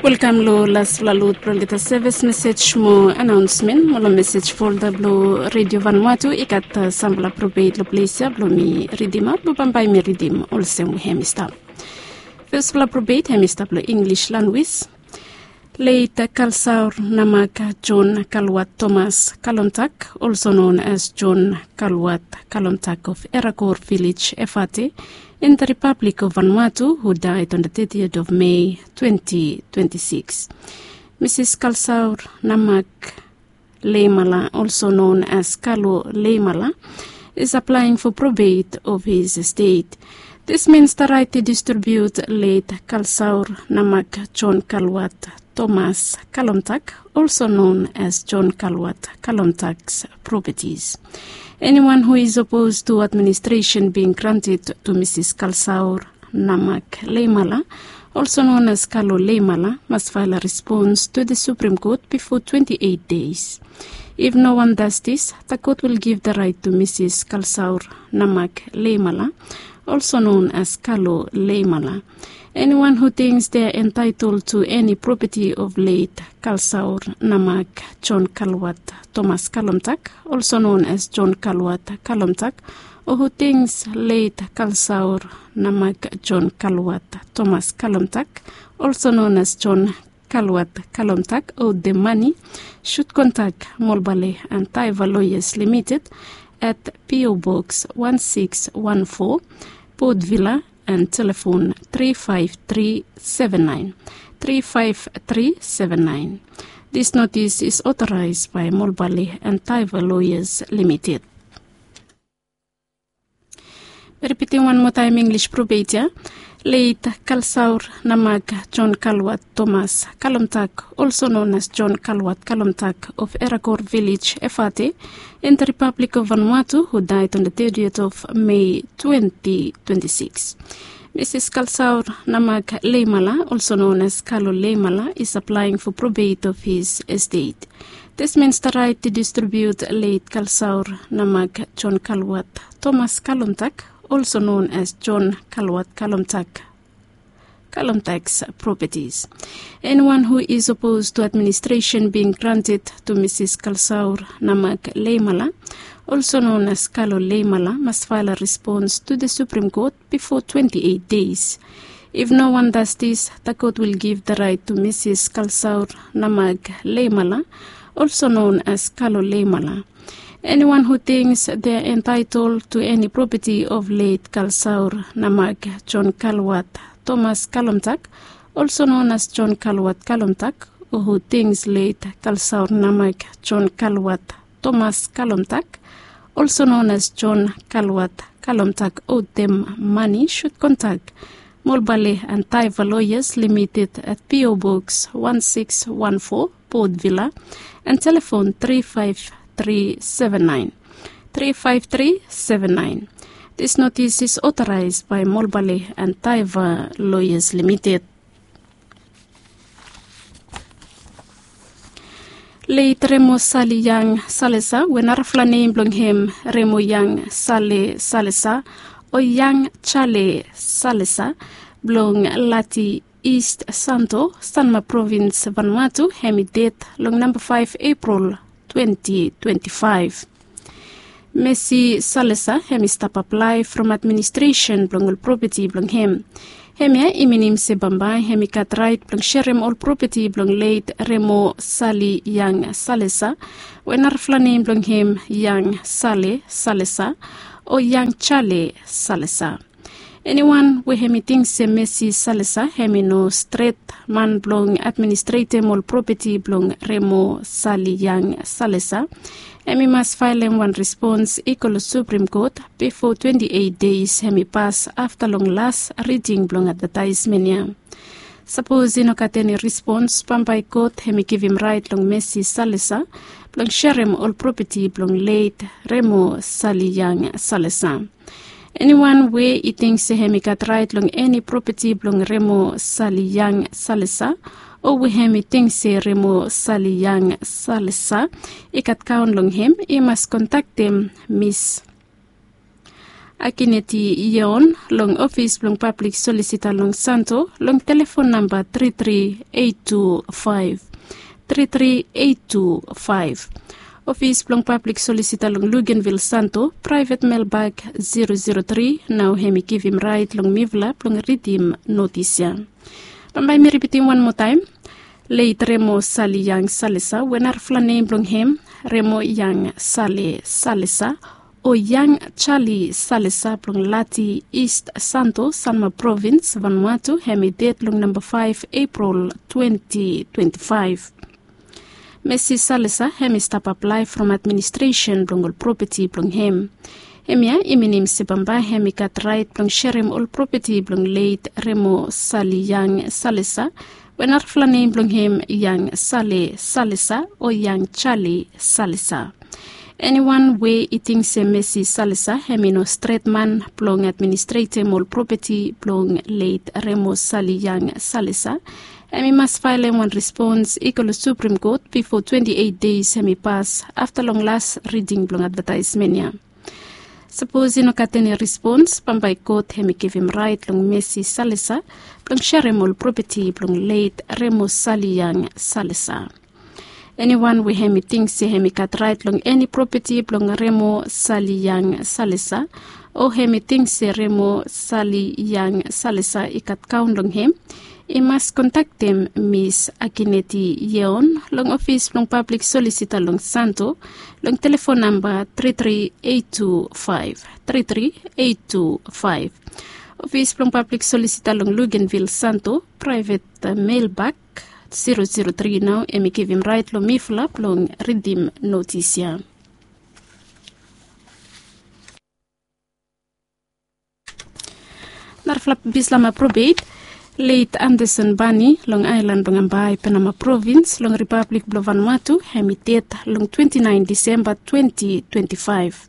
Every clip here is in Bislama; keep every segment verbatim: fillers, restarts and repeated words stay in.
Welkam long lasfala lod blong olgeta sevis mesej mo anaonsmen mo long mesej folda blong redio vanwatu i gat sampela probet long ples ya blong mi ridim aut mo bambae mi ridim olsem we hem i stap. Fesfala probet hem i stap long inglis lanwis. Leit kalsaur namak jon kalwat tomas kalomtak, also known as jon kalwat kalomtak of erakor vilej efate, in the republic of vanuatu, who died on the thirtieth of may twenty twenty-six. Mrs kalsaur namak leimala, also known as kalo leimala, is applying for probate of his estate. This means the right to distribute late kalsaur namak jon kalwat tomas kalomtak, also known as jon kalwat kalomtak's properties. Anyone who is opposed to administration being granted to mrs kalsaur namak leimala, also known as kalo leimala, must file a response to the supreme court before twenty-eight days. If no one does this, the court will give the right to mrs kalsaur namak leimala, also known as kalo leimala. Anyone who thinks they are entitled to any property of late kalsaur namak jon kalwat tomas kalomtak, also known as jon kalwat kalomtak, or who thinks late kalsaur namak jon kalwat tomas kalomtak, also known as jon kalwat kalomtak, owed the money, should contact molbale and taiva lawyers limited at po box one six one four, port villa, and telephone three five three seven nine, three five three seven nine. This notice is authorized by molbale and taiva lawyers limited. Repeating one more time English probate ya. Leit kalsaur namak jon kalwat tomas kalomtak, also known as jon kalwat kalomtak of erakor village efate, in the republic of vanuatu, who died on the thirtieth of may twenty twenty-six. Mrs kalsaur namak leimala, also known as kalo leimala, is applying for probate of his estate. This means the right to distribute late kalsaur namak jon kalwat tomas kalomtak, also known as jon kalwat kalomtak, kalomtak's properties. Anyone who is opposed to administration being granted to mrs kalsaur namak leimala, also known as kalo leimala, must file a response to the supreme court before twenty-eight days. If no one does this, the court will give the right to mrs kalsaur namak leimala, also known as kalo leimala. Anyone who thinks they are entitled to any property of late kalsaur namak jon kalwat tomas kalomtak, also known as jon kalwat kalomtak, or who thinks late kalsaur namak jon kalwat tomas kalomtak, also known as jon kalwat kalomtak, owed them money, should contact molbale and taiva lawyers limited at po box one six one four, port villa, and telephone three five three seven nine, three five three seven nine. This notice is authorized by molbale and taiva lawyers limited. Leit remo sali yang salesa, we narafala nem blong hem remo yang sale salesa, o yang jale salesa, blong lati east santo, sanma provins vanuatu, hem i ded long namba faef eprol twenty twenty-five. Mesi salesa hem i stap aplae from administresen blong ol propeti blong hem. Hemia i minim se bambae hem i gat raet blong serem ol propeti blong leit remo sali yang salesa, we narafala nem blong hem yang sale salesa, o yang jale salesa. Eniwan we hem i ting se mesi salesa hem i no stret man blong administretem ol propeti blong remo sali yang salesa, hem i mas faelem wan respons i go long suprem kot bifo twenti eit deis hem i pas afta long las riding blong advataesmen ya. Sapos i no gat eni respons bambae kot hem i givim raet long mesi salesa blong serem ol propeti blong leit remo sali yang salesa. Eniwan we i ting se hem i gat raet long eni propeti blong remo sali yang salesa, o we hem i ting se remo sali yang salesa i gat kaon long hem, i mas kontaktem mis Akineti Yeon long ofis blong pablik solisita long Santo long telefon namba tri tri eight two five, tri tri eight two five. Ofis blong pablik solisita long Luganvil Santo, praevet melbak zero zero tri, nao hem i givim raet long mifala blong ridim notis ya. Bambae mi ripitim wan moa taem. Leit Remo Sali Yang Salesa, we narafala nem blong hem Remo Yang Sale Salesa, o Yang Charlie Salesa blong Lati, East Santo, Sanma Provins, Vanuatu, hem i ded long namba faef Epril twenti twenti faef. Mesi Salesa hem i stap aplae from administresen blong ol propeti blong hem. Hemia i minim se bambae hem i gat raet blong serem ol propeti blong leit Remo Sali Yang Salesa, we narafala nem blong hem Yang Sale Salesa o Yang Charlie Salesa. Eniwan we i ting se Mesi Salesa hem i no stret man blong administretem ol propeti blong leit Remo Sali Yang Salesa, hem i mas faelem wan respons i go long Suprem Kot bifo twenti eit deis hem i pas afta long las riding blong advataesmen ya. Sapos i no gat eni respons, bambae kot hem i givim raet long Mesi Salesa blong serem ol propeti blong leit Remo Sali Yang Salesa. Eniwan we hem i ting se hem i gat raet long eni propeti blong Remo Sali Yang Salesa, o hem i ting se Remo Sali Yang Salesa i gat kaon long hem, i mas kontaktem Mis Akineti Yeon long ofis blong pablik solisita long Santo long telefon namba tri tri eight two five, tri tri eight two five. Ofis blong pablik solisita long Luganvil Santo, praevet melbak zero zero tri, nao hem i givim raet long mifala blong ridim notis ya. Narafala Bislama probeit, leit Anderson Bani long aelan blong Ambae, Penama Provins, long Ripablik blong Vanuatu, hem i ded long twenti naen Disemba twenti twenti faef.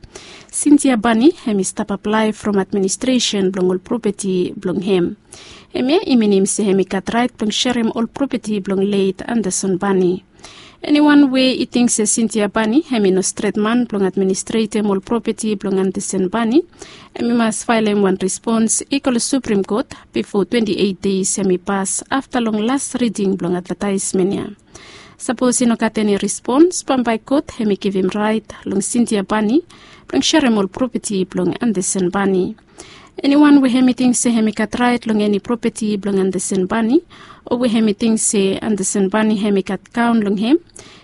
Sintia Bani hem i stap aplae from administresen blong ol propeti blong hem. Hemia i minim se hem i gat raet blong serem ol propeti blong leit Anderson Bani. Eniwan we i ting se Sintia Bani hem i no stret man blong administretem ol propeti blong Anderson Bani, hem i mas faelem wan respons i go long Suprem Kot bifo twenti eit deis hem i pas afta long las riding blong advataesmen ya. Sapos i no gat eni respons, bambae kot hem i givim raet long Sintia Bani blong serem ol propeti blong Anderson Bani. Eniwan we hem i ting se hem i gat raet long eni propeti blong Anderson Bani, o we hem i ting se Anderson Bani hem i gat kaon long hem,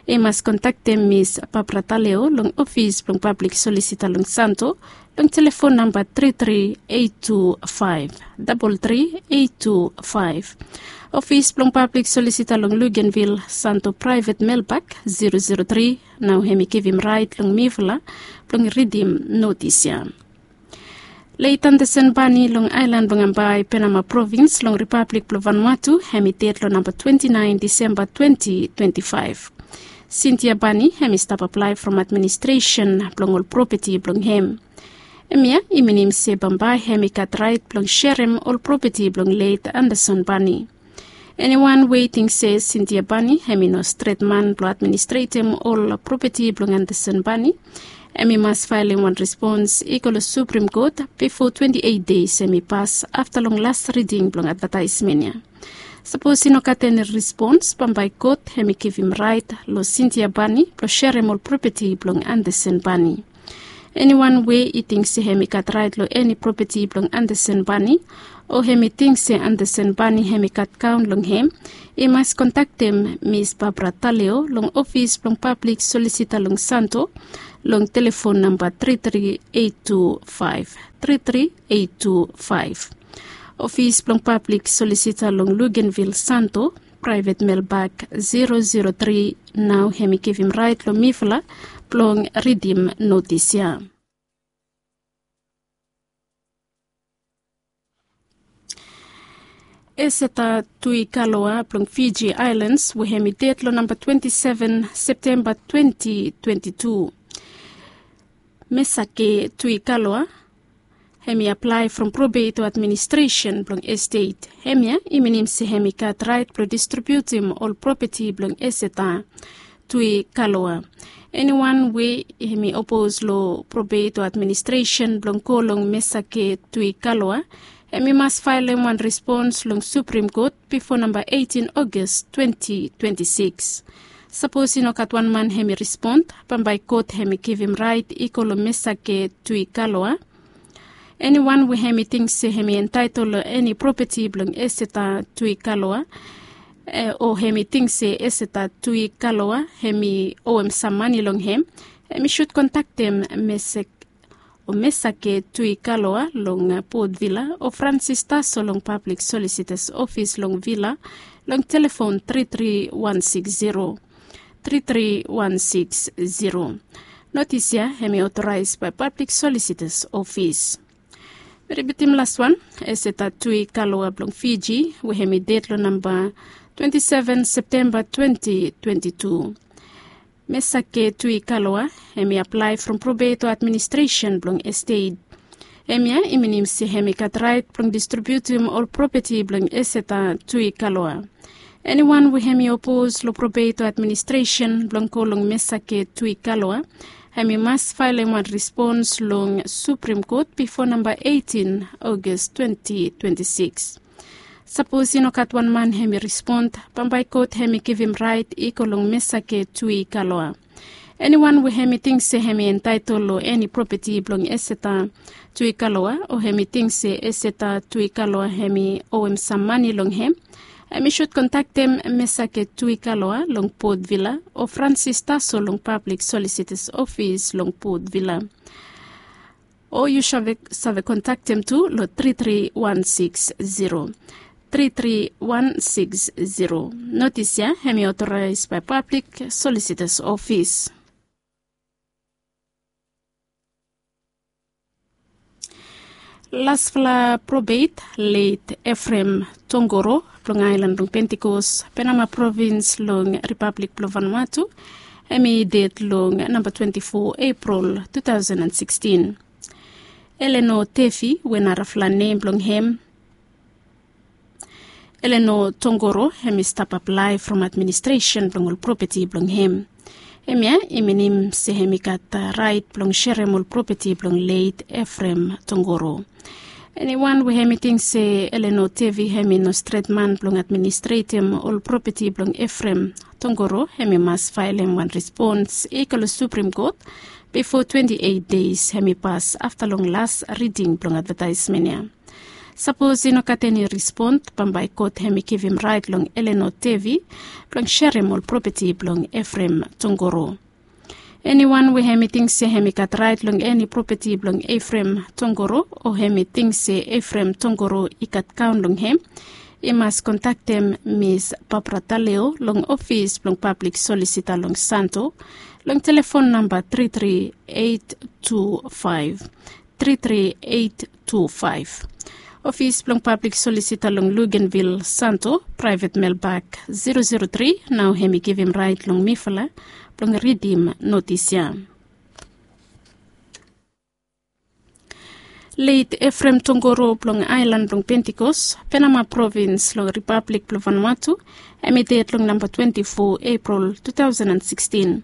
i mas kontaktem Mis Barbara Taleo long ofis blong pablik solisita long Santo long telefon namba tri tri eight two five, dabol tri eight two five. Ofis blong pablik solisita long Luganvil Santo, praevet melbak zero zero tri, nao hem i givim raet long mifala blong ridim notis ya. Leit Anderson Bani long aelan blong Ambae, Penama Provins, long Ripablik blong Vanuatu, hem i ded long namba twenti naen Disemba twenti twenti faef. Sintia Bani hem i stap aplae from administresen blong ol propeti blong hem. Hemia i minim se bambae hem i gat raet blong serem ol propeti blong leit Anderson Bani. Eniwan we i ting se Sintia Bani hem i no stret man blong administretem ol propeti blong Anderson Bani, hem i mas faelem wan respons i go long Suprem Kot bifo twenti eit deis hem i pas afta long las riding blong advataesmen ya. Sapos i no gat eni respons, bambae kot hem i givim raet long Sintia Bani blong serem ol propeti blong Anderson Bani. Eniwan we i ting se hem i gat raet long eni propeti blong Anderson Bani, o hem i ting se Anderson Bani hem i gat kaon long hem, i mas kontaktem Mis Barbara Taleo long ofis blong pablik solisita long Santo long telefon namba tri tri eight two five, tri tri eight two five. Ofis blong pablik solisita long Luganvil Santo, praevet melbak zero zero tri, nao hem i givim raet long mifala blong ridim notis ya. Eseta Tuikaloa blong Fiji Aelans, we hem i ded long namba twenti seven Septemba twenti twenti tu. Mesake Tuikaloa hem i aplae from probeit o administresen blong estet. Hemia i minim se hem i gat raet blong distribiutim ol propeti blong Eseta Tui Kaloa. Eniwan we hemi opos long probeit o administresen blong go long Mesake Tui Kaloa, hemi mas faelem wan respons long Supreme Kot bifo namba eitin Ogos twenti twenti sikis. Sapos i no gat wan man hemi respond, bambae kot hemi givim raet i go long Mesake Tui Kaloa. Eniwan we hemi ting se hemi entaetol long eni propeti blong Eseta Tui Kaloa, o hemi ting se Eseta Tui Kaloa hemi owem sam mane long hem, hemi sud kontaktem Mesek o Mesake Tui Kaloa long Port Vila o Francis Taso long Pablik Solisitas Ofis long Vila long telefon tri tri wan sikis zero, tri tri wan sikis zero. Notis ya hemi otoraes bae Pablik Solisitas Ofis. Mi ripitim laswan, Eseta Tui Kaloa blong Fiji we hemi ded long namba twenti seven Septemba twenti twenti tu. Mesake Tui Kaloa hemi aplae from probeit o administresen blong estet. Hemia i minim se hemi gat raet blong distribiutim ol propeti blong Eseta Tui Kaloa. Eniwan we hemi opos long probeit o administresen blong go long Mesake Tui Kaloa, hemi mas faelem wan respons long Supreme Kot bifo namba eitin Ogos twenti twenti sikis. Sapos i no gat wan man hemi respond, bambae kot hemi givim raet i go long Mesake Tui Kaloa. Eniwan we hemi ting se hemi entaetol long eni propeti blong Eseta Tui Kaloa o hemi ting se Eseta Tui Kaloa hemi owem sam mane long hem, hemi sud kontaktem Mesake Tui Kaloa long Port Vila o Francis Taso long Pablik Solisitas Ofis long Port Vila. O yu save, save kontaktem tu long tri tri wan sikis zero, tri tri wan sikis zero. Notis ya hemi otoraes bae Pablik Solisitas Ofis. Lasfala probeit, Leit Efrem Tongoro blong aelan blong Pentikos, Penama provins long Ripablik blong Vanuatu, hemi ded long namba twenti fo Epril tu taosen an sikstin. Eleno Tefi we narafala nem blong hem Eleno Tongoro, hemi stap aplae from administresen blong ol propeti blong hem. Hemia i minim se hemi gat raet blong serem ol propeti blong Leit Efrem Tongoro. Eniwan we hemi ting se Eleno Tefi hemi no stret man blong administretem ol propeti blong Efrem Tongoro, hemi mas faelem wan respons i go long Supreme Kot bifo twenti eit deis hemi pas afta long las riding blong advetaesmen ya. Sapos i no gat eni respon, bambae kot hemi givim raet long Eleno Tefi blong serem ol propeti blong Efrem Tongoro. Eniwan we hemi ting se hemi gat raet long eni propeti blong Efrem Tongoro o hemi ting se Efrem Tongoro i gat kaon long hem, i mas kontaktem Mis Barbara Taleo long ofis blong Pablik Solisita long Santo long telefon namba tri tri eit tu faef, tri tri eit tu faef. Ofis blong Pablik Solisita long Luganvil Santo, praevet melbak zero zero tri, nao hemi givim raet long mifala blong ridim notis ya. Leit Efrem Tongoro blong aelan blong Pentikos, Penama provins long Ripablik blong Vanuatu, hemi ded long namba twenti fo Epril tu taosen an sikstin.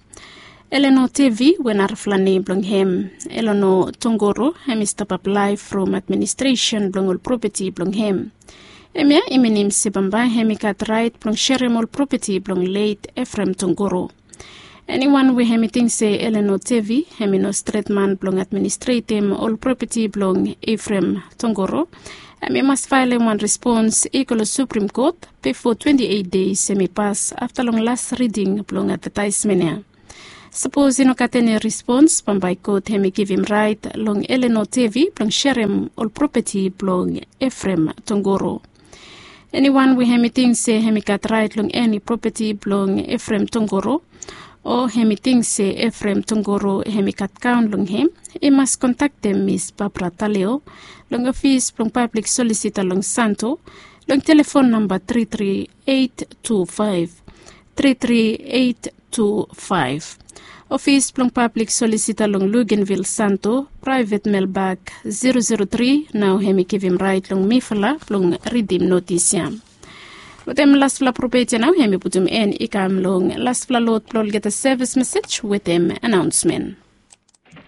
Eleno Tefi we narafala nem blong hem, Eleno Tongoro, hemi stap aplae from administresen blong ol propeti blong hem. Hemia i minim se bambae hemi gat raet blong serem ol propeti blong Leit Efrem Tongoro. Eniwan we hemi ting se Eleno Tefi hemi no stret man blong administretem ol propeti blong Efrem Tongoro, hemi mas faelem wan respons i go long Suprem Kot bifo twenti eit deis hemi pas afta long las riding blong advetaesmen ya. Sapos i no gat eni respons, bambae kot hemi givim raet long Eleno Tefi blong serem ol propeti blong Efrem Tongoro. Eniwan we hemi ting se hemi gat raet long eni propeti blong Efrem Tongoro, o hemi ting se Efrem Tongoro hemi gat kaon long hem, i mas kontaktem Mis Barbara Taleo long ofis blong Pablik Solisita long Santo long telefon namba tri tri eit tu faef, tri tri eit tu faef. Ofis blong Pablik Solisita long Luganvil Santo, praevet melbak zero zero tri, nao hemi givim raet long mifala blong ridim notis ya. Wetem lasfala propet ya nao em i putum en i kam long lasfala lot blong olgeta sevis mesej wetem anaonsmen.